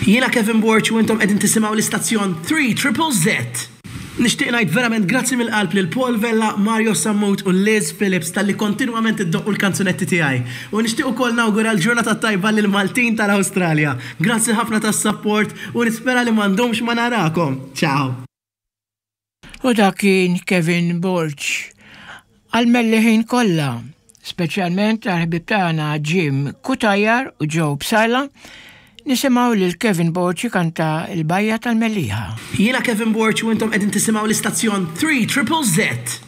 Jiena Kevin Borg u intom qegħdin tisimgħu l-istazzjon 3 Triple Z. Nixtieq ngħid verament grazzi mill-qalb lil Paul Vella, Mario Sammut u Liz Phillips talli kontinwament iddoqqu l-kanzunetti tiegħi. U nixtieq ukoll nawgura l-ġurnata t-tajba lill-Maltin tal-Awstralja. Grazzi ħafna tas-sapport u nispera li ma ndumx ma narakom. Ciao! U dak kien Kevin Borg. Għall-Melliħin kollha, speċjalment għall-ħbieb tagħna Jim Cutajar u Joe Psaila, nisimgħu lil Kevin Borg ikanta l-Bajja tal-Mellieħa. Jiena Kevin Borg u intom qegħdin tisimgħu l-istazzjon 3 Triple Z.